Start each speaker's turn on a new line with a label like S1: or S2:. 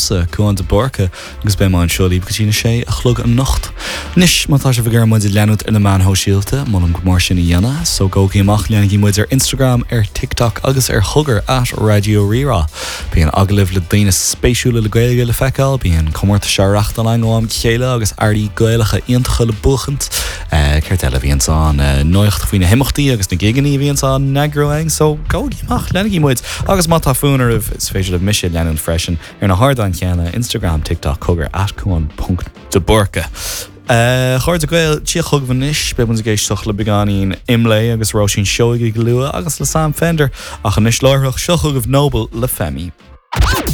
S1: Liomsa, Cúán de Búrca, agus beidh mé anseo libh go dtí na sé a chlog anocht. Anois, má tá sibh ag iarraidh muid a leanúint ar na meáin shóisialta, molaim go mór sin a dhéanamh, so gabhaigí amach, leanaigí muid ar Instagram, ar TikTok agus ar Chogar, at Raidió Rí-Rá. Bíonn agallaimh le daoine spéisiúla le Gaeilge le feiceáil, bíonn comórtais á reachtáil againn ó am go chéile agus earraí Gaelacha iontacha le buachaint. Céard eile a bhíonns ann? Nuacht faoi na himeachtaí agus na gigeanna a bhíonns á n-eagrú againn, so gabhaigí amach, leanaigí muid! Agus má tá fonn oraibh, is féidir libh mise a leanúint freisin ar na hardáin chéanna, Instagram, TikTok, Cogar, at Cuan ponc de Búrca. A chairde Gael, tíocht chugaibh anois, beidh muid ag éisteacht le beagáinín Imlé agus Róisín Seoighe go luath agus le Sam Fender, ach anois láithreach, seo chugaibh Noble le Femi.